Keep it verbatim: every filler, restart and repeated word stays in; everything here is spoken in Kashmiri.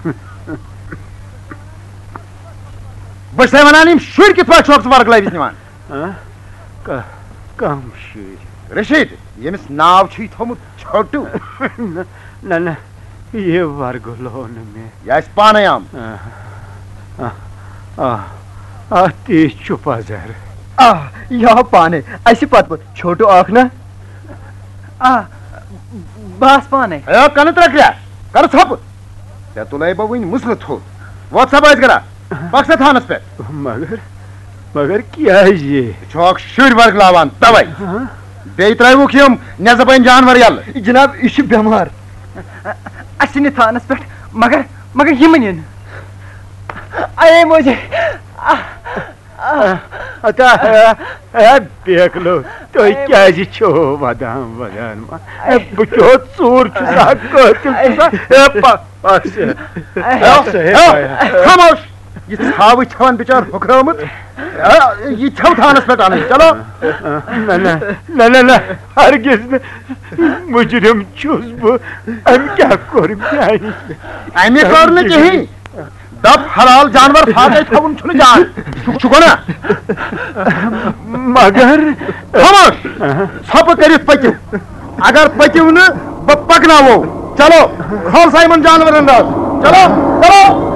بہٕ چھسے ونان، یِم شُرۍ کِتھ پٲٹھۍ چھُکھ ژٕ ورگلٲوِتھ نِوان؟ ہاں؟ کا-، کم شُرۍ؟ رشید، ییٚمِس ناو چھُے تھوٚمُت چھوٹو۔ نہ، نہ، نہ، یہِ ورگلو نہٕ مےٚ۔ یہِ آسہِ پانے آمُت۔ آ، آ، آ، آ، تی چھُ پزر۔ آ، یہِ آو پانے۔ اسہِ پتہٕ پتہٕ چھوٹو اکھ نا۔ آ، بہٕ آس پانے۔ ہے، کنہٕ ترٛکریا، کر ژھۄپہٕ۔ ژےٚ تُلے بہٕ وٕنۍ مُسلہٕ تھوٚد۔ وۄتھ سا بٲژ گرا، پکھ سا تھانس پٮ۪ٹھ۔ مگر، مگر کیٛازِ؟ ژٕ چھُکھ شُرۍ ورگلاوان، توے۔ ہاں؟ بیٚیہِ ترٛٲوُکھ یِم نٮ۪صٕبٲنۍ جانور یَلہٕ۔ جناب، یہِ چھُ بٮ۪مار۔ اَسہِ نہِ تھانس پٮ۪ٹھ، مگر، مگر یِم نِن۔ اَیے موجے۔ اتا، اے، اے، بیکلو، تُہۍ کیٛازِ چھِو ودان، ودان؟ اے، بہٕ کیُتھ ژوٗر چھُسا، قٲتِل چھُسا؟ اے، پا-، پکھ سا۔ اے، خاموش۔ یہِ ژھاوٕج چھَوان بِچار ہُکھرٲومٕژ۔ آ، یہِ چھَو تھانس پٮ۪ٹھ اَنٕنۍ، چلو۔ نہ، نہ، نہ، نہ، نہ، ہرگز نہٕ۔ مُجرِم چھُس بہٕ۔ أمۍ کیٛاہ کوٚر میٛانہِ؟ اَمہِ کٔر نہٕ کِہیٖنۍ۔ دَپ حلال جانور فاقے تھاوُن چھُنہٕ جان۔ چھُ، چھُ گۄناہ۔ مگر خاموش۔ ژھۄپہٕ کٔرِتھ پٔکِو۔ اگر پٔکِو نہٕ، بہٕ پکناوو۔ چلو، کھول سا یِمن جانورن راز۔ چلو، چلو۔